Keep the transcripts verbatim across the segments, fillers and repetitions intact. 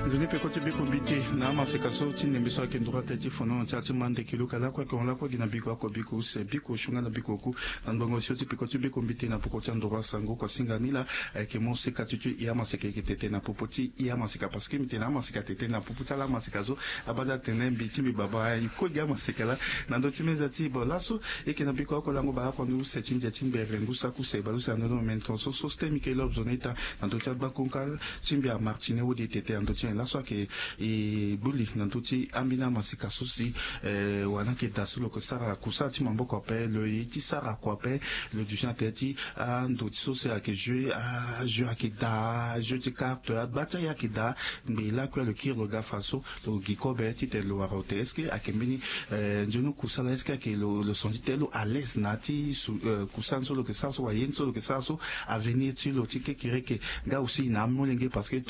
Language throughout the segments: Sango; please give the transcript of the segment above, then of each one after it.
Nzoni peko ti biko mbite na amaseka so ti ndembe so ayeke ndura tënë ti fono na ti ala ti ma ndeke luka lakue ayeke hon lakue gi na biko oko biko use biko sunga na biko oku. Na ndongo sio ti peko ti biko mbite na poko ti andura sango kuasinga ni laa. Ayeke mo seka ti tio i amaseka eke tete na popo ti i amaseka parce que mbi tene amaseka tete na popo ti ala amaseka so. Abada tene mbi ti mbi baba i kue gi amaseka laa. Na ndö ti meza ti bo laso eke na biko oko lango baa oko ndo use ti ndia ti mbere ngu saki use baleuse na ndö ni mene tonso so stem ike lob zone ita. Na ndö ti agbakonka ti mbi amartine wodi tete na ndö ti nyen laso ayeke e gbu li na ndö ti ambeni amaseka so si wala ayeke daa so lo yeke sara kusala ti maboko ape lo ye ti sara kua ape. Lo duti na tere ti ando ti so si ayeke jeu ajeu ayeke daa jeu ti karte agba ti aye ayeke daa. Ngbe lakue lo kiri lo ga fa so lo gi kobe titene lo wara lo te est ce que ayeke mbeni nzoni kusala est ce que ayeke lo son ti te lo alaise na ya ti kusala ni so lo yeke sara so wala ye ni so lo yeke sara so avenir ti lo ti kekereke. Nga aussi na amolenge parce que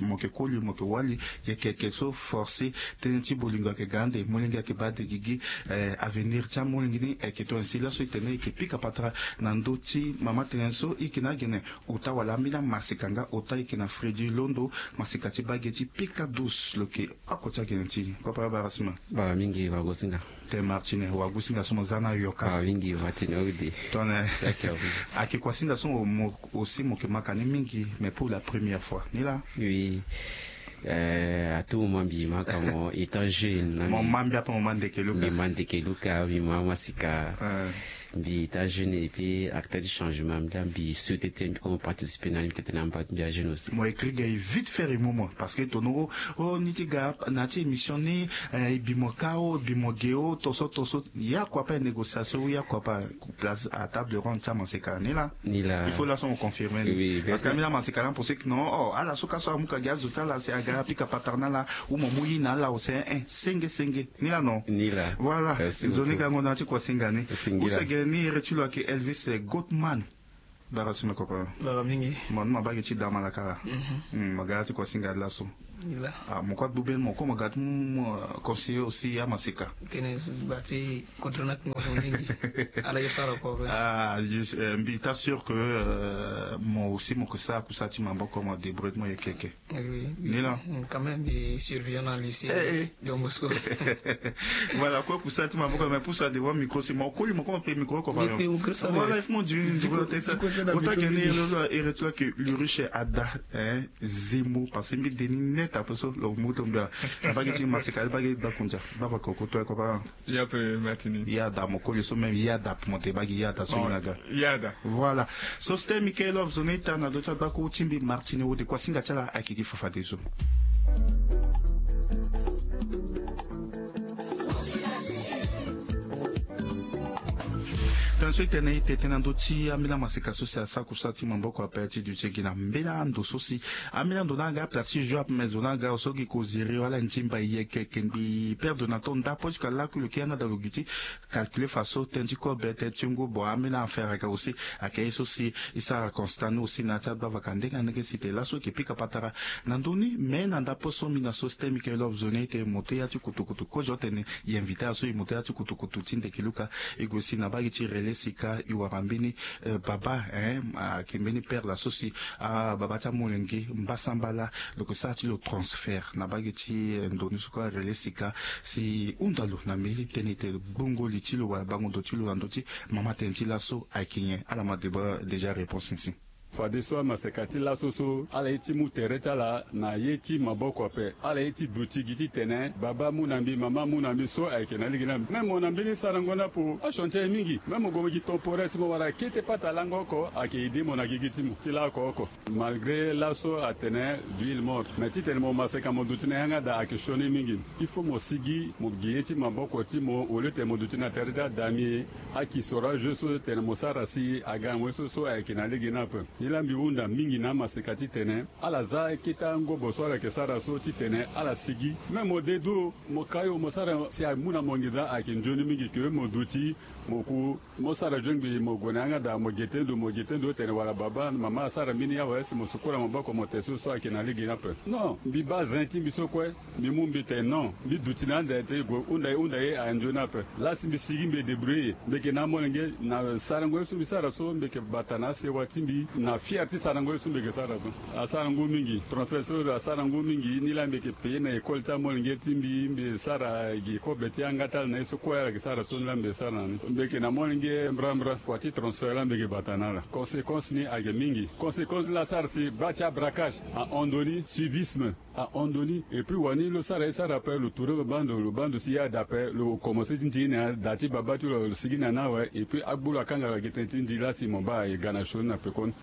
mo yeke koli mo yeke wali yeke yeke so force tënë ti bolingo ayeke ga ande molenge ayeke baa de gigi. Avenir ti amolenge ni ayeke tongana si laso e tene e yeke pika patara na ndö ti mama tënë so e yeke na agene ota wala ambeni amaseka nga ota e yeke na fredi londo maseka ti baa ge ti pika douce lo yeke oko ti agene ti e. Papa bara sima bara mingi wagosinga. Te martine wagosinga so mo za na yoka bara mingi martine ode. Tongana ayeke kuasinga so mo aussi mo yeke maka ni mingi mais pour la première fois ni laa. Oui. A tout moment mbi ma ka mo étant jeune na mo ma mbi ape mo ma ndeke luka mbi ma ndeke luka mbi ma masika. Mbi étant jeune et puis acteur du changement mbi la mbi souhaité te mbi comme participer na ni mbi tete na mba mbi a jeune aussi. Mo écrit gay vite fait remue mo parce que tono o ni ti ga na ti émission ni. E bi mo ka o e bi mo ge o toso toso. Ya kua ape négociation ya kua ape place à table ronde ti amaseka ni laa. Ni laa il faut laso mo confirmer ni parce que ambeni amaseka ni apenser que non o ala so ka so amu ka gi azo ti ala si aga apika patara na ala. Ou mo mu ye na ala o si un senge senge ni laa non. Ni laa voilà. Nzoni gango na ya ti kuasinga ni. Use gene ni ere ti lo ayeke elvis gotman. Bara si me koko. Bara mingi. Mo ni ma baa gi ti daa malaka laa. Mo ga ya ti kuasinga ni laso. Mo kue agbu beni mo kue mo ga ti mu conseiller aussi amaseka. Tene ba ti kodro ni akingo mo mingi. Ala ye sara ko. Mbi ta sûr que mo aussi mo ke sara kusala ti maboko mo débrouille ti mo yeke yeke. Ni laa. Quand même mbi surveillant na lycée. Don bosco. Voilà kue kusala ti maboko mais pusu adevant micro si mo koli mo kue mo pe micro ko baa. Voilà il faut mo diri ndiro te sa. Ota geni ere ti lo ayeke luriche ada. Zemo parce que mbi de ni net ape so lo mu to mbi a. Na bage ti maseka bage ti bakundia baba koko to ayeke baa. Ya pe martini ya da mo koli so même ya da pe mo te bagi ya da so. Ye na ga ya da. Voilà. So stem ike love zo na ita na do ti agbako ti mbi martini wode kuasinga ti ala ayeke gi fafadeso. Tënë so e tene e tete na ndö ti ambeni amaseka so si asara kusala ti maboko ape ti duti e gi na mbeni ando so si ambeni ando ni aga place ti jeu ape mais zo ni aga so gi koziri wala ni ti mbai yeke yeke mbi perdre na temps ndapo ti ka lakui lo ke yanga da lo gi ti calculer faso tënë ti kobe tënë ti ngo bon ambeni affaire aga aussi. Ayeke ye so si e sara constat ni aussi na ya ti agbavaka ndenge na ndenge si te laso e yeke pika patara na ndö ni mais na ndapo so mbi na so stem ike love zo ni e tene mo to ya ti kutukutu kozo tene. E invité aso e mo to ya ti kutukutu ti ndeke luka. E gue si na bage ti relais sika e wara mbeni baba ayeke mbeni père la so si ababa ti amolenge mbasambala lo yeke sara ti lo transfert na bage ti ndo ni so kue arelais sika si hunda lo na mbeni tënë ete gbongo li ti lo wala bango ndo ti lo na ndö ti mama tënë ti laso ayeke nyen ala ma deba déjà réponse ni si. Fadeso amaseka ti laso so ala ye ti mu tere ti ala na ye ti maboko ape. Ala ye ti duti gi titene baba amu na mbi mama amu na mbi so ayeke na lege ni ape même mo na mbeni sarango ni ape. Achantier aye mingi même mo gue mo gi temporaire si mo wara kete pata lango oko ayeke aide mo na gigi ti mo ti laoko oko. Malgré laso atene duile mort mais titene mo maseka mo duti na yanga daa ayeke sioni mingi. Il faut mo sigi mo gi ye ti maboko ti mo au lieu tene mo duti na tere ti adami. Aki sora jeu so tene mo sara si aga na mo ye so so ayeke na lege ni ape. Nilaa mbi hunda mingi na amaseka titene ala za kete angobo so ala yeke sara so titene ala sigi même mo de du. Mo kai o mo sara si amu na mo nginza ayeke nzoni mingi ke mo duti mo ku mo sara jongbi mo gue na yanga daa mo gete ndo mo gete ndo tene wala baba mama asara mbeni awe si mo sukula maboko mo te so so ayeke na lege ni ape. Non mbi baa zen ti mbi so kue. Mbi mu mbi tene non mbi duti na ande te e gue hunda e hunda ye aye nzoni ape. Lasi mbi sigi mbi e débrouiller mbi yeke na amolenge na sarango ye so mbi sara so mbi yeke bata na asewa ti mbi. Afier ti sarango ye so mbi yeke sara so, asara ngu mingi. Transfert so asara ngu mingi. Ni laa mbi yeke payer na école ti amolenge ti mbi, mbi sara gi kobe ti yanga ti ala na ye so kue ala yeke sara so. Ni laa mbi sara na ni, mbi yeke na molenge mbrambra. Kua ti transfert laa mbi yeke bata na ala. Conséquence ni ayeke mingi. Conséquence laa asara si baa ti abraquage, ahon ndoni, suivisme, ahon ndoni. Et puis wani lo sara ye sara ape, lo tourner babâ ndo, lo bâ ndo si ye ada ape, lo commencer ti ndi ni na da ti babâ ti lo, lo sigi na ni awe. Et puis agbu lo akanga lo gi tënë ti ndi laa si mo baa aye ga na sioni na pekoni.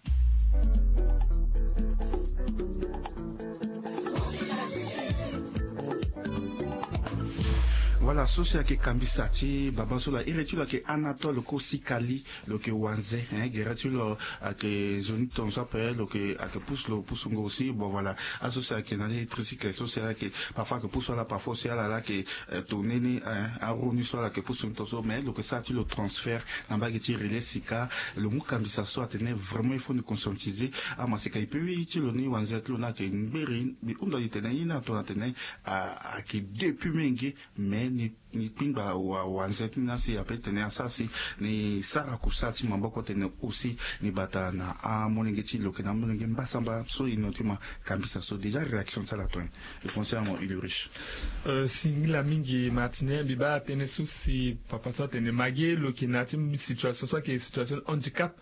Voilà, so si ayeke kambisa ti babâ so laa, iri ti lo ayeke Anatole Kosikali. Lo yeke wanze, hein, gere ti lo ayeke nzoni tongaso ape, lo yeke, ayeke pusu lo pusu ngo aussi. Bon, voilà, aso si ayeke na ni tricycle so si ala yeke parfois ayeke pusu ala, parfois aussi ala laa ayeke, eh, tourner ni, hein, aroue ni so ala yeke pusu ni tongaso, mais lo yeke sara ti lo transfert na mbage ti Relais Sika. Lo mu kambisa so atene vraiment il faut ni conscientiser amaseka. Et puis ti lo ni wanze ti lo ni ayeke ngberi, mbi hunda li tene ye ni atona tene, ah, ayeke depuis mingi, mais ni ni kpingba wa, wanze ti ni asi ape tene asara si ni sara kusala ti maboko tene aussi ni bata na amolenge ti lo yeke na amolenge mbasambala so e no ti ma kambisa so. Déjà réaction ti ala tongana e conseil ya mo Ulrich. Euh, singila mingi Martine, mbi baa tënë so si papa so atene ma ge lo yeke na ya ti situation so ayeke situation handicap.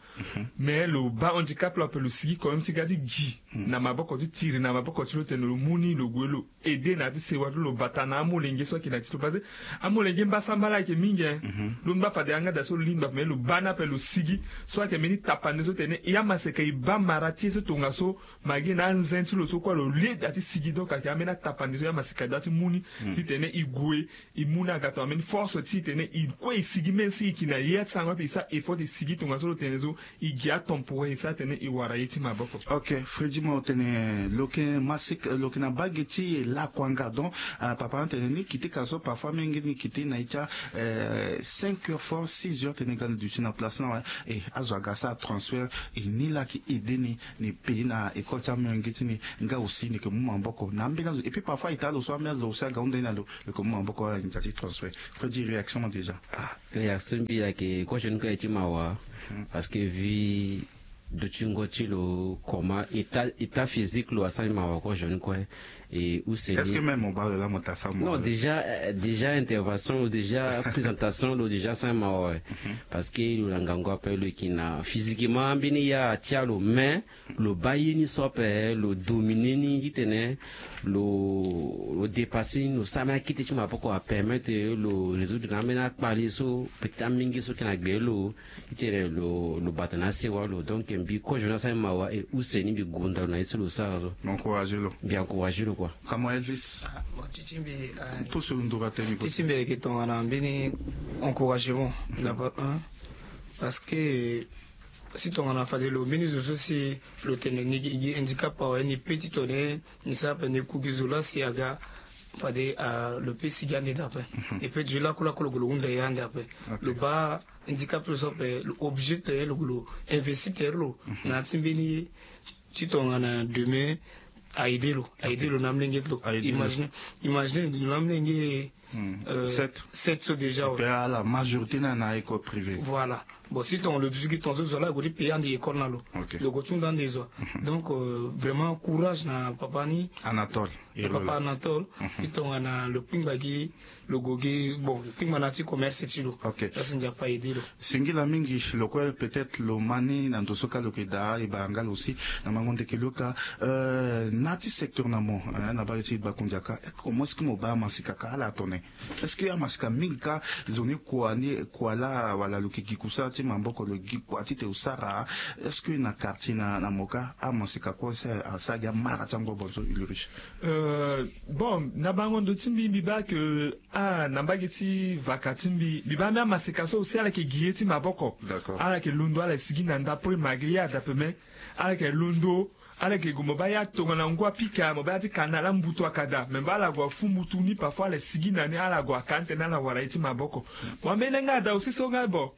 Mais lo baa handicap lo ape lo sigi quand même ti ga ti gi na maboko ti tiri na maboko ti lo tene lo mu ni lo gue lo aide na ya ti sewa ti lo bata na amolenge so ayeke na ya ti lo parce que amolenge mbasambala ayeke mingi hein. Lo ngba fade yanga daa so lo lingba ape mais lo baa ni ape lo sigi so ayeke mbeni tapande so tene e amaseka e baa mara ti ye so tongaso ma ge na anze ti lo so kue lo lie daa ti sigi. Donc ayeke ambeni atapande so e amaseka daa ti mu ni titene e gue e mu ni aga tongana mbeni force titene e kue e sigi même si e yeke na ya ti sango ape e sara effort ti sigi tongaso lo tene so e gi atemporaire e sara tene e wara ye ti maboko. Ok, Freddy mo tene lo yeke masika, lo yeke na mbage ti lakuanga donc, ah, papa ni atene ni kiti ka so parfois mingi ni kiti na e ti a, eh, cinq heures fort six heures tene ga ni duti na place ni awe. E azo aga asara transfert e ni laa ayeke aide ni, ni payer na école ti amolenge ti ni nga aussi ni yeke mu maboko na ambeni azo. Et puis parfois e taa lo so ambeni azo aussi aga hunda ye na lo, lo yeke mu maboko wala ndia ti transfert. Freddy, réaction mo déjà? Ah, réaction mbi ayeke kozo ni kue ti mawa. Parce que vie dutingo ti lo comment état, état physique lo asara ni mawa kozo ni kue. Et use ni est-ce que même mo baa lo laa mo ta sara mo? Non, déjà, euh, déjà intervention lo, déjà présentation lo déjà asara ni mawa. Parce que lo na ngangu ape lo yeke na physiquement ambeni ya ti a lo mais lo baa ye ni so ape lo dominer ni titene lo, lo dépasser ni, lo sara mbeni akete ti maboko apermettre lo résoudre na ambeni akpale so peut-être amingi so yeke na gbe lo titene lo, lo bata na asewa lo. Donc mbi kozo ni asara ni mawa et use ni mbi gonda lo na ye so lo sara so. Mbi encourager lo. Mbi encourager lo quoi. Kamo Elvis. Ah, bon, ti ti mbi, ah, pusu ndura tënë ti ti mbi ayeke tongana mbeni encouragement d'abord un, parce que si tongana fade lo mbeni zo so si lo tene ni gi, gi handicap awe ni pe ti tene ni sara ape ni ku gi zo laa si aga fade, ah, lo pe sigi ande daa ape. Et puis du lakulaku lo gue lo hunda ye ande ape. Lo baa handicap lo so ape lo obligé tene lo gue lo investir tere lo na ya ti mbeni ti tongana demain a aidé lo, a aidé lo na amolenge ti lo. Imagine, imagine lo na amolenge, euh, sept, sept so déjà. Et puis ala majorité na na école privée. Voilà. Bon, si tongana lo duti gi tongaso zo laa lo gue ti payer ande école na lo, lo gue ti hunda ande zo. Donc, euh, vraiment courage na papa ni Anatole. Papa Anatole. Si tongana lo kpingba gi lo gue gi, bon, lo kpingba na ya ti commerce ti lo. Ok. Asi Nzapa aidé lo. Singila mingi. Lo kue peut-être lo ma ni na ndo so kâ lo yeke daa e bara nga lo aussi na mango ndeke lo kâ. Euh, na ya ti secteur na mo, hein, na baa lo ti Bakundia kâ, comment est-ce que mo baa amasika kâ ala tongana est-ce que amasika mingi kâ zo ni kua ni kua laa wala lo yeke gi kusala ti maboko lo gi kua titene lo sara? Est-ce que na quartier na, na mo kâ amasika kue asara gi amara ti angobo so Ulrich? Euh, bon, na bango ndo ti mbi mbi baa ke, ah, na mbage ti vaka ti mbi mbi baa mbi amaseka so aussi ala yeke gi ye ti maboko. Ala yeke londo ala sigi na ndapre ma ge ye ada peme. Ala yeke londo, ala yeke gue mo baa ya tongana ngu apika mo baa ya ti kana ala mbutu akada me mba ala gue afu mbutu ni parfois ala sigi na ni ala gue aka ni tene ala wara ye ti maboko. Mo ambeni nga ada aussi so nga bon.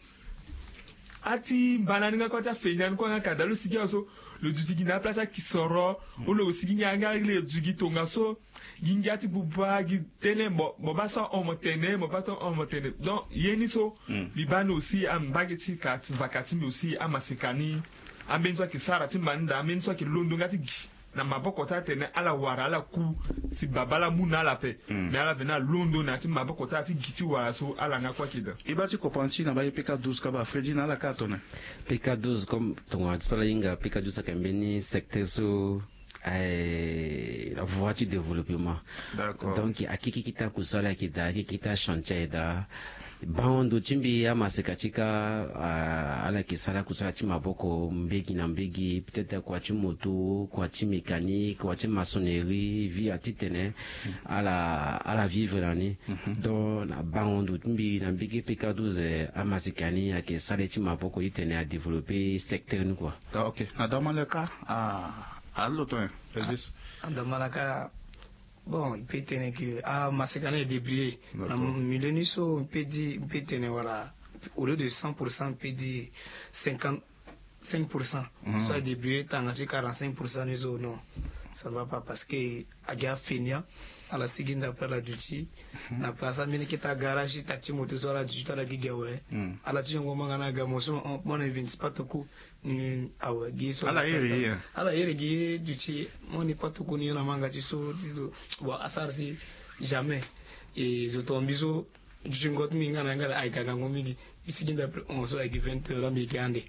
Ati mbana ni nga kue ati afeni ani kue nga kada lo sigi awe so lo duti gi na aplace akisoro. Ou lo sigi ngia nga lo duti gi tongaso. Gi ngia ti buba gi tënë mo baa so ahon mo tene mo baa so ahon mo tene. Donc ye ni so mbi baa ni aussi ambage ti ka ti vaka ti mbi aussi amaseka ni. Ambeni so ayeke sara ti manda ambeni so ayeke londo nga ti gi na maboko ti atene ala wara ala ku si babala mu na ala ape. Mais ala veni alondo na ya ti maboko ti ala ti gi ti wara so ala nga kue ayeke daa. E baa ti comprendre ti na baa ye pk douze kaba fredi na ala kâ atone. Pk douze comme tongana ti so ala hinga pk douze ayeke mbeni secteur so aye la voie ti développement. Donc akiki kita kusala ayeke daa akiki kita chantier aye daa. Bango ndo ti mbi amaseka ti ka ala yeke sara kusala ti maboko mbegi na mbegi peut-être kua ti moto kua ti mécanique kua ti maçonnerie via titene ala ala vivre na ni. Donc na bango ndo ti mbi na mbege pk douze amaseka ni ayeke sara ye ti maboko titene adévelopper secteur ni kua. Ok. Na damaleka aloto nyen? Elvis. Damaleka. Bon, il peut tene que ah maseka na e débrouiller na milieu ni so, il peut dire il peut tene wala au lieu de cent pour cent il peut dire cinquante cinq pour cent. So a débrouiller tanga ti quarante cinq pour cent ni so non, ça ne va pas parce que agi afenia. Ala sigi nda après ala duti na place ambeni keta garage ta ti moto so ala duti to ala gi gi awe. Ala ti yongo manga na aga mo so mo na vinti pas toko. Awe gi so ala iri gi duti mo ni pas toko ni yo na manga ti so ti so. Bon asara si jamais e zo tonga mbi so. Duti ngo ti mbi nga na nga na aye ka gango mingi. Mbi sigi nda après onze so ayeke vingt heures ambi yeke ande.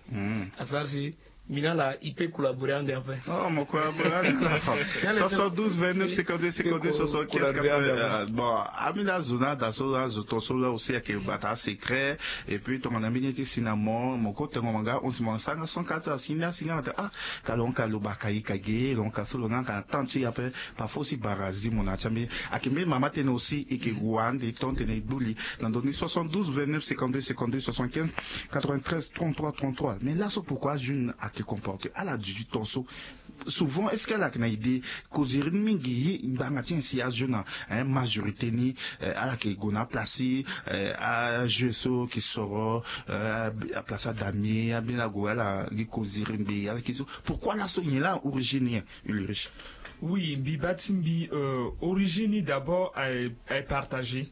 Asara si mbi na ala e peut collaborer ande après. Oh mo collaborer ande na fa. Soixante-douze vingt-neuf cinquante-deux cinquante-deux soixante-quinze quatre-vingts. Bon ambi na azo na ada so azo ton so la aussi ayeke bata asecret. Et puis tongana mbi ni ti si na mo mo ko tengo mo nga onze mo na sara nga cent quatre asi ni asi nga na tene ah. Ka lo hon ka lo baka ye ka ge lo hon ka so lo nga ka na temps ti e ape. Parfois aussi bara azi mo na ya ti ambeni ayeke mbeni mama tënë aussi e yeke gue ande ton tene e gbu li. Na ndoni soixante-douze vingt-neuf cinquante-deux cinquante-deux soixante-quinze quatre-vingt-treize trente-trois trente-trois mais laso pourquoi ajeune ayeke comporter ala duti ton so? Souvent est-ce que ala yeke na idée? Koziri ni mingi ye ngbanga ti nyen si ajeune na majorité ni ala yeke gue na aplace ajeu so ki soro aplace adamie abeni ague ala gi koziri mbi ala ki so. Pourquoi laso nyen la origine nyen? Ulrich. Oui mbi baa ti mbi origine ni d'abord aye aye partager.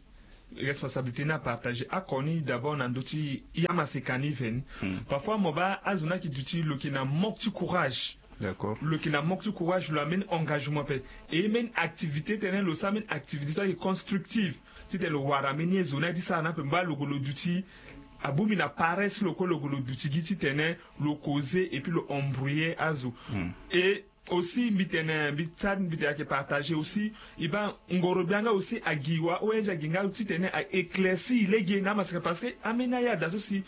Responsabilité ni apartager ako ni d'abord na ndö ti e amaseka ni veni. Parfois mo baa azo ni ayeke duti lo yeke na manque ti courage. Lo yeke na manque ti courage lo ambeni engagement ape. E mbeni activité tënë lo sara mbeni activité so ayeke constructive titene lo wara mbeni ye zo ni aye ti sara ni ape mo baa lo gue lo duti. Abongbi na paresse lo kue lo gue lo duti gi titene lo causer et puis lo embrouiller azo. Et aussi mbi tene mbi sara mbi tene ayeke partager aussi. E baa ngoro gbia nga aussi agi wa ong agi nga titene a éclairci lege na amaseka parce que ambeni aya daa so si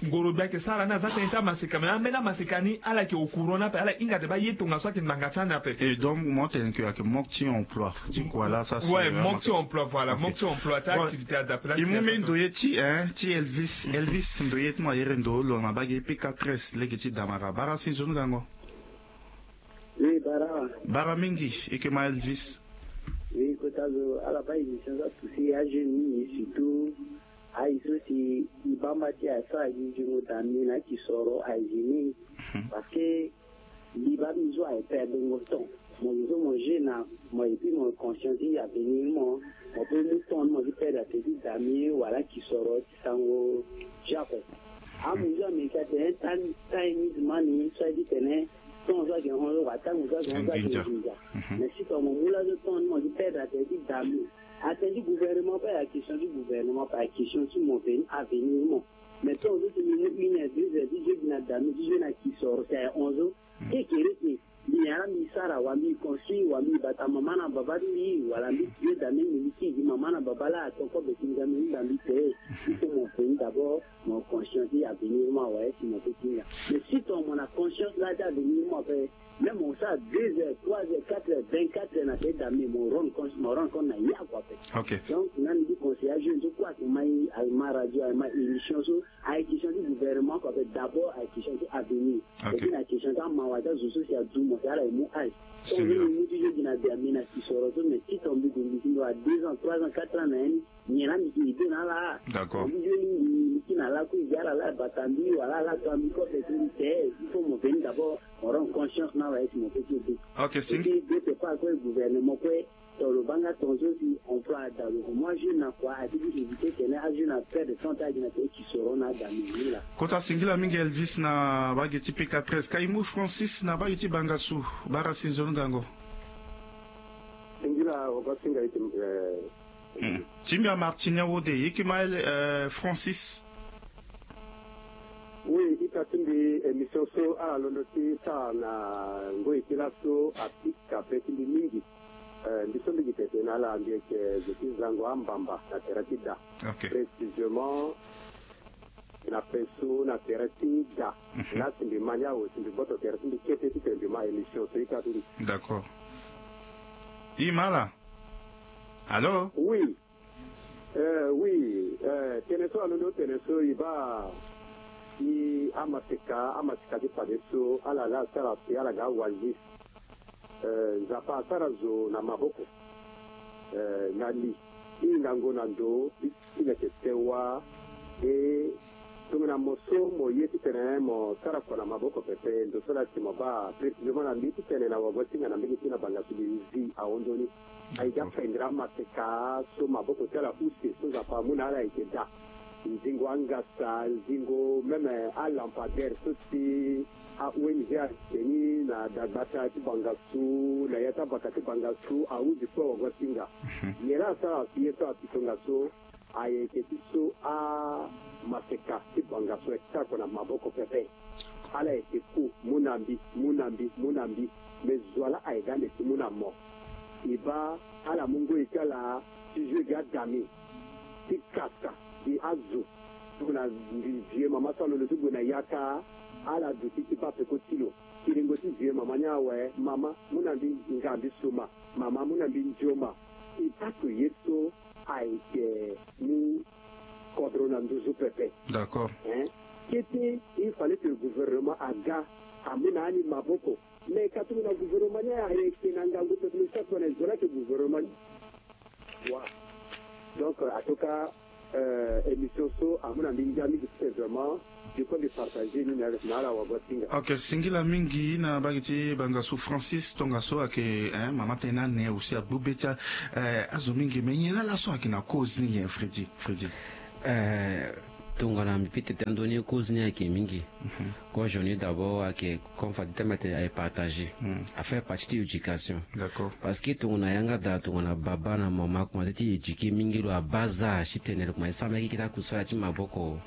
ngoro gbia ayeke sara ni aza tënë ti amaseka mais ambeni amaseka ni ala yeke au courant ni ape ala hinga tene baa ye tongaso ayeke ngbanga ti ande ape. Et donc mo tene ke ayeke manque ti emploi ti kua la sa si ouais manque ti emploi voilà manque ti emploi ti activité adapela e mu mbeni ndo ye ti e ti elvis elvis ndo ye ti mo ayere ndo lo na bage pk treize lege ti damara bara si nzoni gango. Oui bara. Bara mingi e yeke ma elvis. Oui kota zo ala baa émission so apusi ajeune mingi surtout aye so si e baa mba ti aye so aye gi zingo da mbi na aki soro aye gi mingi. Parce que mbi baa mbi zo aye perdre ngo temps. Mo zo so mo jeune na mo et puis mo conscient ti avenir mo. Mo pe mu temps ni mo ti perdre ape ti da mbi wala aki soro ti sango. Jape. Amu nzoni américain atene tan tan emisement ni so aye ti tene temps so ayeke hon so kua tango so ayeke hon so ayeke nginza. Mais si tongana mo mu laso temps ni mo ti perdre atene ti dame atene ti gouvernement pe ayeke question ti gouvernement pe ayeke question ti mo veni avenir mo. Mais temps so si mo mu une heure deux heures ti jeu gi na dame ti jeu na kisoro si aye hon so. Kekere si mbi nyen la mbi sara wala mbi construire wala mbi bata mama na baba ti mbi wala mbi tuer dame mbi mbi kiri gi mama na baba laa ato kobe si mbi ga mbi hinga mbi te. Il faut mo veni d'abord mo conscient ti avenir mo awe si mo pe ti hinga. Mais si ton mo na conscience laa ti avenir mo ape même mo sara deux heures trois heures quatre heures vingt-quatre heures na te dame mo rendre compte mo rendre compte na ye akua ape. Donc na mbi ti conseiller ajeune so kue ayeke ma ye ayeke ma radio ayeke ma émission so. Aye question ti gouvernement ko ape d'abord aye question ti avenir. Epi na question ti amawa ti azo so si adu mo si ala ye mu age. Ton so mbi mu ti jeu gi na be ami na si soro so mais ti ton mbi gue mbi si mbi wa deux ans trois ans quatre ans na ye ni. Nyen la mbi ke aide na ala. D'accord mbi jeu ni mbi mbi ti na lakui gi ala la bata mbi wala ala to mbi ko ape ti mbi te. Il faut mo veni d'abord mo rendre conscience na ala ye si mo pe ti aide. Ok si. Epi d'autre part kue gouvernement kue. Toro lo banga tonzo si emploi ada lo. Moi jeune na kua ati ti éviter tene ajeune aperde temps ti agi na tene kisoro na ada mingi la. Kota singila mingi Elvis na bage ti P quatre S Kaimu Francis na bage ti Bangassou. Bara si nzoni gango. Singila ogo singa iti. Ti mbi amartinien wode yeke ma Francis. Oui, ita ti mbi émission so ala londo ti sara na ngoi ti laso apika pe ti mbi mingi. Mbi so mbi gi tete na ala mbi yeke zo ti zango ambamba na tere ti da. Précisément na peso na tere ti da. Lasi mbi ma ni awe si mbi gboto tere ti mbi kete titene mbi ma émission so ita ti mbi. D'accord. I ma ala. Allô? Oui. Eh, oui, eh, tene so alondo tene so e baa ti amaseka amaseka ti fadeso ala laa asara si ala ga awazi. Eh, Nzapa asara zo na maboko. Eh, na li ti hingango na ndo ti ti leke sewa. E tongana mo so mo ye titene mo sara kua na maboko pepe ndo so laa si mo baa précisément na mbi titene na wago ti nga na mbege ti na Bangassou mbi zi ahon nzoni. Aye ga pendere amaseka so maboko ti ala use so Nzapa amu na ala ayeke daa. Nzingo angasa, nzingo même alampadaire so si a-O N G ayeke ni na dagbata ti Bangassou na ya ti abaka ti Bangassou ahundi kue wago ti nga. Nyen laa asara si ye so apitonga so? Ayeke ti so amaseka ti Bangassou ayeke sara kua na maboko pepe. Ala yeke ku mu na mbi, mu na mbi, mu na mbi. Me zo wa laa ayeke ga ande ti mu na mo. E baa ala mu ngoi ti ala ti jeu gi adami ti kasa gi azo. Gue na vieux mama so alondo ti gue na yaka. Ala duti ti baa peko ti lo. Kiringo ti vieux mama ni awe, mama mu na mbi nga mbi suma. Mama mu na mbi nzoma. E baa to ye so ayeke mu kodro na nduzu pepe. D'accord. Hein? Kete il fallait que le gouvernement aga amu na ani maboko. Mais ka tongana gouvernement ni ayeke na ngangu pepe, mais chaque fois na e zo laa ayeke gouvernement ni. Wa. Donc en tout cas, euh, émission so amu na mbi ngia mingi ti tene vraiment. Diko mbi partager ni na ala wago ti nga. Ok, singila mingi na bage ti Bangassou Francis tongaso ayeke, hein, mama tene na ane aussi agbu be ti, eh, azo mingi. Mais nyen laa laso ayeke na cause ni nyen Freddy? Freddy. Eh, tongana mbi peut-être andoni cause ni ayeke mingi. Comme je dis d'abord ayeke comme fade ti tene ayeke partager. Affaire partie ti éducation. D'accord. Parce que tongana yanga daa tongana baba na mama akomanse ti éduquer mingi lo à bas âge titene lo komanse sara mbeni keke ti akusala ti maboko.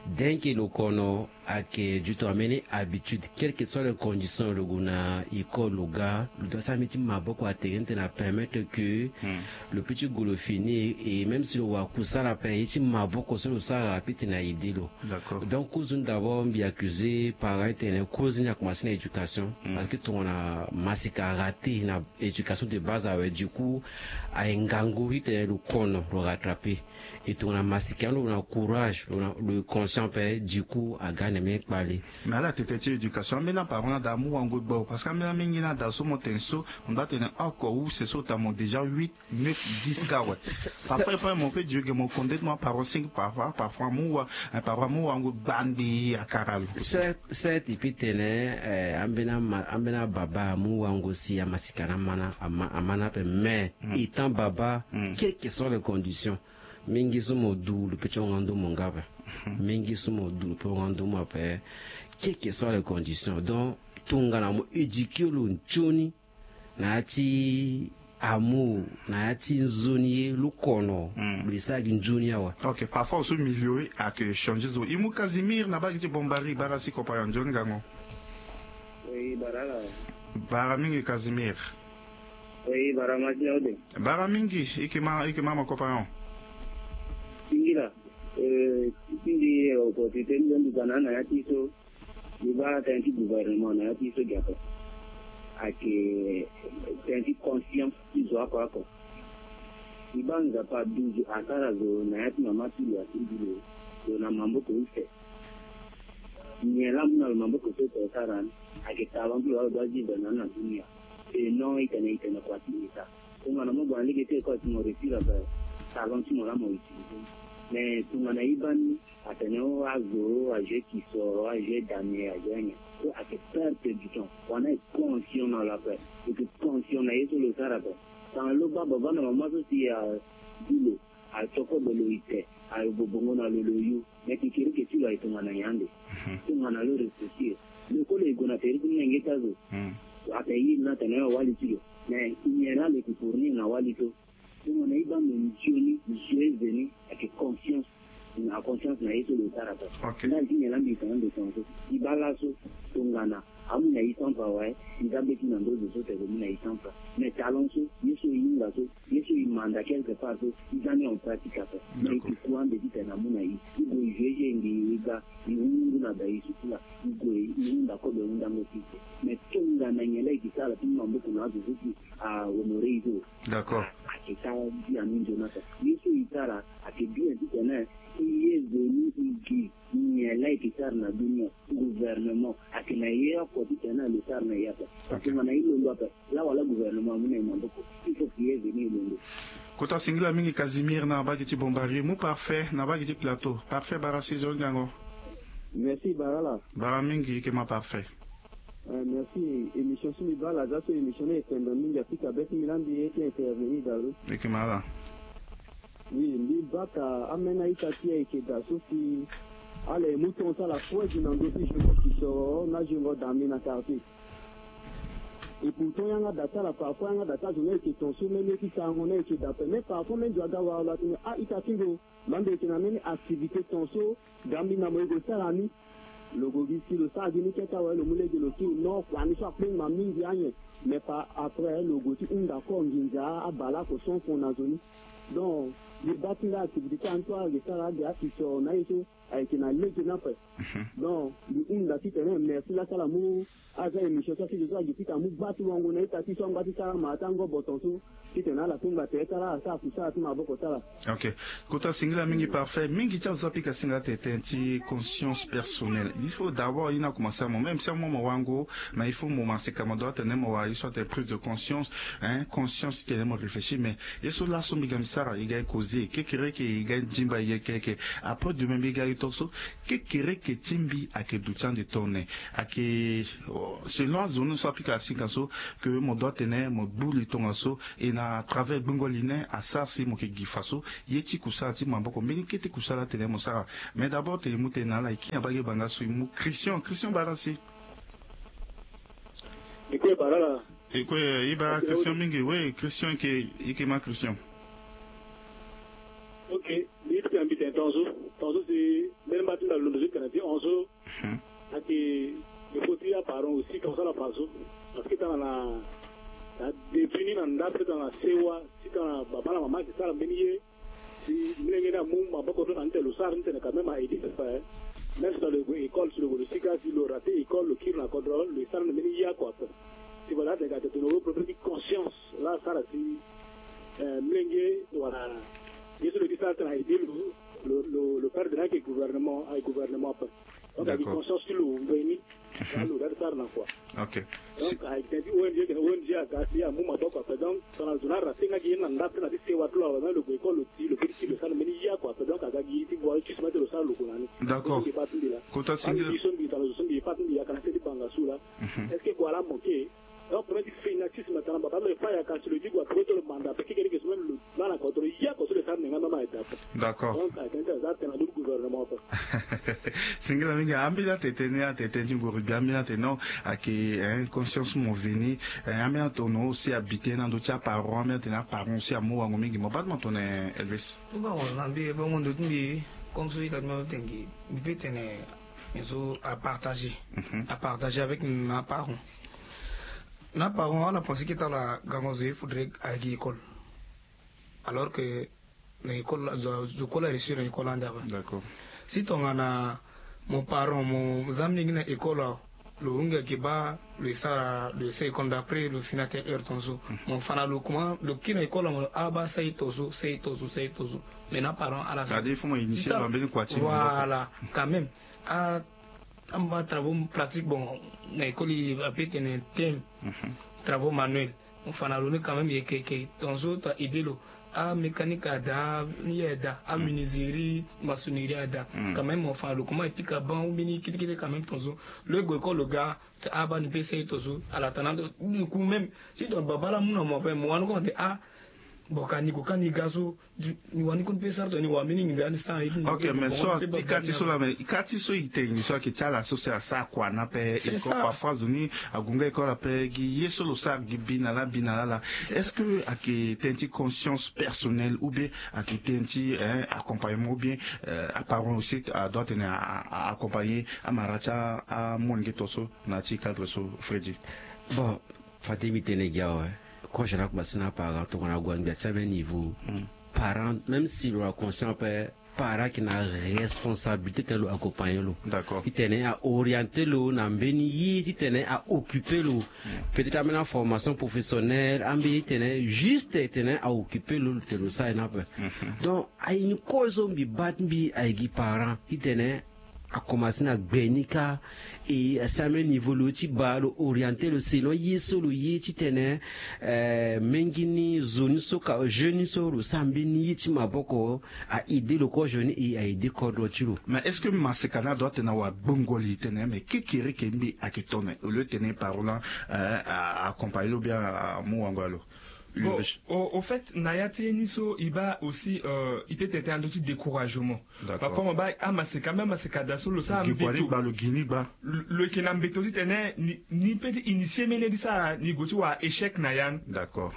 Denke lo kono ayeke du tongana mbeni habitude, quelle que soit les conditions, lo gue na école lo ga, lo doit sara mbeni ti maboko atene titene apermettre que lo peut ti gue lo fini. Et même si lo wara kusala ape, ye ti maboko so lo sara apeut titene a aider lo. D'accord. Donc cause ni d'abord mbi accuser parent titene cause ni akomanse na éducation. Parce que tongana masika araté na éducation de base awe, du coup aye ngangu titene lo kono lo rattraper. E tongana masika ni lo na courage, lo na, lo conscient ape, du coup aga na mbeni kpale. Mais ala tete ti éducation ambeni aparent ni ada amu wango gbo, parce que ambeni mingi ni ada so mo tene so, mo doit tene oko use so ota mo déjà huit, neuf, dix kâ awe. Parfois e peut mo peut dire que mo konde ti mo aparent cinq, parfois, parfois amu wa, eh, parfois amu wango gbangbi akara lo. Certes, certes e peut tene, eh, ambeni ama, ambeni ababa amu wango si amasika ni ama ni, ama, ama ni ape, mais étant baba, quelles que soient les conditions, mingi so mo du lo peut ti hon nga ndo mo nga ape. Mingi so mo du lo peut hon nga ndo mo ape. Quelles que soient les conditions, donc tongana mo éduquer lo nzoni na ya ti amour, na ya ti nzoni ye lo kono, lo ye sara gi nzoni awe. Ok, parfois so milieu ayeke changer zo. E mu Casimir na bage ti Bombari, bara si compagnon, nzoni gango. Oui, bara la. Bara mingi Casimir. Oui, bara ma ti na ode. Bara mingi, e yeke ma, e yeke ma, ma compagnon. Singila, eh, ti mbi opportunité ni mbi bana na ya ti so. Mbi baa tënë ti gouvernement na ya ti so gi ape. Ayeke tënë ti conscience ti zo oko oko. Mbi baa Nzapa aduzu asara zo na ya ti mama ti lo, aduzu lo, lo na maboko use. Nyen laa amu na lo maboko so tene asara ni? Ayeke talent ti lo laa lo doit vivre na ni na dunia. Et non, e tene, e tene kua ti État. Tongana mo gue na lege ti école si mo réussir ape, talent ti mo laa mo utiliser. Mais tongana e baa ni atene o azo, a jouer kisoro, a jouer damier, a jouer anyen. So ayeke perte du temps. Wala e conscient na lo ape. E yeke conscient na ye so lo sara ape. Tongana lo baa baba na mama so si a du lo, a tio kobe lo ite, a yo bobongo na lo lo yu. Me kekereke ti lo aye tongana nyen ande? Tongana lo réfléchir. Lo kue lo ye gue na tere ti molenge ti azo. Atene ye ni atene awali ti lo. Me nyen laa lo yeke fournir na wali so? Tongana e baa ndo nzioni, zo e ve ni, ayeke conscience. Na conscience na ye so lo sara ape. Ndali ti nyen laa mbi tene ande tongaso? E baa laso tongana amu na e cent francs awe, e za mbeti na ndo zo so tene lo mu na e cent francs. Me talon so ye so e hinga so, ye so e manda quelque part so, e za ni en pratique ape. Me e ke ku ande titene amu na e. E gue e joue jeu, e ngi e ga, e hungu na da e suku laa, e gue e hunda kobe hundango ti e. Me tongana nyen laa e ke sara ti mu maboko na azo so si ahonoré e so? D'accord. Ayeke sara bien mingi na ape. Ye so e sara ayeke bien titene e ye veni e gi nyen laa e ke sara na dunia. Gouvernement ayeke na ye oko titene lo sara na e ape. Parce que tongana e londo ape, laa wala gouvernement amu na e maboko. Il faut que e ye veni e londo. Kota singila mingi Casimir na bagi ti Bombari. Mu Parfait na bagi ti plateau. Parfait, bara si zo ngango. Merci bara la. Bara mingi, e ke ma Parfait. Eh, merci. Émission so mbi baa la, aza so émission ni e tendon mingi, apika be ti mbi laa mbi ye ti intervenir dalo. Eke ma ala. Oui, mbi baa ka ameni a-ita ti e ayeke da so si ala ye mu tongaso ala froide na ndö ti jongo kisoro na jongo dambi na quartier. Et pourtant yanga da ti ala, parfois yanga da ti azo ni ayeke tongaso même ye ti sarango ni ayeke da ape. Mais parfois même zo aga wara lo atene a-ita ti lo, mbi yeke na mbeni activité tongaso, ga mbi na mo e gue sara ni. Lo gue gi si lo sara gi ni kete awe, lo mu lege lo kiri, non, kua ni so akpengba mingi anyen. Mais pa après lo gue ti hunda kor nginza abale oko cent francs na zo ni. Donc, débat ti nga activité ti ala ni so ayeke sara ade akisoro na ye so ayeke na lege ni ape. Donc mbi hunda titene merci laa si ala mu aza émission so asigi so agi ti ka mu gba ti wango na ita ti so angba ti sara ma ata ngoboton so titene ala kpengba tere ti ala, ala sara kusala ti maboko ti ala. Ok. Kota singila mingi Parfait, mingi ti azo so apika singila tene tënë ti conscience personnelle. Il faut d'abord ye ni akomanse amu, même si amu mo wango, mais il faut mo ma seka mo doit tene mo wara ye so atene prise de conscience, hein, conscience titene mo réfléchir. Mais ye so laso mbi ga mbi sara, e ga e causer kekereke, e ga e dimba e yeke yeke. Après demain mbi ga e tongaso, kekereke ti mbi ayeke duti ande tongana nyen? Ayeke selon azo ni so apika asika so, que mo doit tene mo gbu li tongaso, e na travers gbingo li ni asara si mo yeke gi fa so ye ti kusala ti maboko, mbeni kete kusala atene mo sara. Mais d'abord tene e mu tene na ala, e kiri na bage banga so e mu Christian. Christian, bara si. E kue bara la. E kue, e bara Christian mingi. Oui, Christian, e ke, e ke ma Christian. Ok, mbi ye ti tene mbi tene tongaso, tongaso si mbeni mba ti mbi alondo so ti tene ti hon so. Ayeke, il faut ti aparent aussi tongana ala fa so. Parce que tongana na, na début ni na ndape tongana sewa, si tongana baba na mama ayeke sara mbeni ye, si molenge ni amu maboko so na ni tene lo sara ni tene quand même a aidé pepe. Même si lo gue école, si lo gue lo sika, si lo raté école, lo kiri na kodro, lo ye sara ni mbeni ye oko ape. Si voilà, atene ka tene tongana lo propre ti conscience laa asara si, eh, molenge wala ye so lo ye ti sara tene a aidé lo, lo, lo, lo perdre ni ayeke gouvernement, ayeke gouvernement ape. Donc ayeke conscience ti lo ngbeni. Alo ga ti sara na kua. Ok. Donc ayeke tene ti O N G, tene O N G aga si amu maboko ape. Donc tongana zo ni araté nga gi ye ni na ndape na ti sewa ti lo awe, même lo gue école lo ti lo pe ti ti lo sara mbeni ya kua ape. Donc aga gi ti voie ti sima ti lo sara lo gue na ni. D'accord. Mbi pa ti mbi la. Kota singila. Mbi so mbi tongana zo so mbi ye pa ti mbi ya kana se ti banga so la. Est-ce que kua la moke? Donc premier ti fini na ti sima tongana baba lo ye pa ya kasi lo gi gue ape ti lo manda ape kekereke so même lo. Bana kodro ya ko so le sara nenga mama e da. D'accord. Donc a tene ti aza tene na ndö ti gouvernement ko. Singila mingi. Ambeni atene tënë, atene tënë ti nguru gbi, ambeni atene non, ayeke, hein, conscience mo veni, hein, ambeni atene aussi abite na ndö ti aparent, ambeni atene aparent aussi amu wango mingi. Mo baa ti mo tene Elvis. Bon, na mbi bongo ndo ti mbi, comme so ita ti mbi atene, mbi peut tene nyen so apartager. Mhm. Apartager avec na aparent. Na aparent ala pense que tala gango zo il faudrait ayeke école. Alors que na école la, zo, zo kue la réussir na école ande ape. D'accord. Si tongana mo parent mo za molenge na école awe, lo hunda yeke baa, lo ye sara, lo ye sara école d'après lo fini atene heure tongaso. Mhm. Mo fa na lo comment, lo kiri na école awe, mo lo abaa sara ye tongaso, sara ye tongaso, sara ye tongaso. Mais na parent ala sara. C'est-à-dire il faut mo initier lo na mbeni kua ti lo. Voilà, quand même. A, amba travaux pratique, bon, na école ape tene thème. Mhm. Travaux manuels. Mo fa na lo ni quand même yeke yeke tonzo to a aide lo. Amécanique ada, ni ye ada, amenuiserie, maçonnerie ada. Quand même mo fa na lo comment e pika banc ou mbeni kete kete quand même tonzo. Lo e gue kolo ga. Abaa ni pe sey tonzo ala tana ndo. Ni ku même si tongana babala mu na mo ape mo wani koma te ah. Bon ka ni gue ka ni ga so. Ni wani koni pe sara tongana ni wani mingi nda ni sara. Ok mais so ti ka ti so la mais ka ti so i te ni so ayeke ti ala so si asara kua ni ape. Parfois zo ni ague nga école ape gi ye so lo sara gi bi na laa bi na laa laa. Est-ce que ayeke tënë ti conscience personnelle ou bien ayeke tënë ti accompagnement ou bien aparent aussi adoit tene accompagner amara ti amolenge to so? Na ya ti cadre so Freddy. Bon, fade mbi tene gi awe. Kozo na akoma si na aparent tongana ague angbi asi ame niveau. Parent même si lo na conscient ape, parent ayeke na responsabilité titene lo accompagner lo. D'accord. Titene a orienter lo na mbeni ye titene a occuper lo. Peut-être ambeni formation professionnelle ambeni titene juste titene a occuper lo titene lo sara ye ni ape. Donc aye ni kozo mbi baa ti mbi aye gi parent titene akomanse na gbe ni kâ. E asi ame niveau lo ti baa lo orienter lo selon ye so lo ye titene mingi ni zo ni so ka jeune ni so lo sara mbeni ye ti maboko. A aide lo kozo ni e a aide kodro ti lo. Mais est-ce que maseka ni adoit tene awa gbongo li tene mais kekereke mbi ayeke tone au lieu tene parent accompagner lo bien amu wango ya lo? Bon, au fait na ya ti ye ni so e baa aussi e peut tene tene na ndö ti découragement. Parfois mo baa amaseka même amaseka daa so lo sara mbeto. Lo yeke na mbeto titene ni pe ti initier mbeni ye ti sara ni gue ti wara échec na ya ni.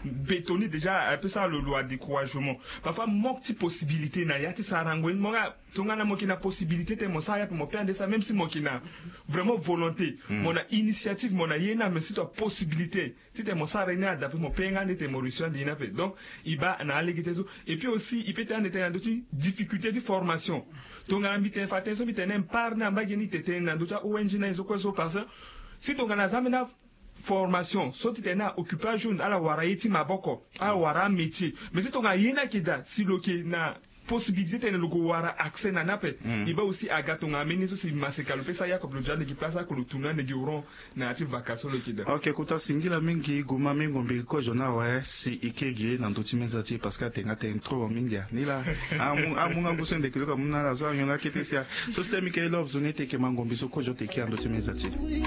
Mbeto ni déjà ape sara lo lo a découragement. Parfois manque ti possibilité na ya ti sarango ye ni mo nga. Tongana mo yeke na possibilité titene mo sara ye ape mo pe ande sara même si mo yeke na vraiment volonté, mo na initiative, mo na ye ni ame si to a possibilité titene mo sara ye ni adape mo pe nga ande titene mo réussir ande ye ni ape. Donc e baa na alege tënë so. Et puis aussi e pe tene ande tene na ndö ti difficulté ti formation. Tongana mbi tene fa tënë so mbi tene part ni ambage ni tene tene na ndö ti a-ong na ye so kue so parce que si tongana aza ambeni formation so titene a occuper ajour ala wara ye ti maboko, ala wara amétier. Mais si tongana ye ni ayeke daa si lo yeke na possibilité titene lo gue wara accès na ni ape. E baa aussi aga tongana mbeni ye so si maseka lo pe sara yakob lo ja ande gi place ako lo tourner ande gi oron. Na ya ti vaka so lo yeke daa. Ok kota singila mingi guma mingo mbi kozo ni awe si e ke gi na ndö ti meza ti e parce que atene nga tene trop mingi a ni laa. Amu nga ngu so ndeke lo ka mu na ala so anyon akete si a so si tene mbi ke love zo ni e teke mangombi so kozo teke na ndö ti meza ti e.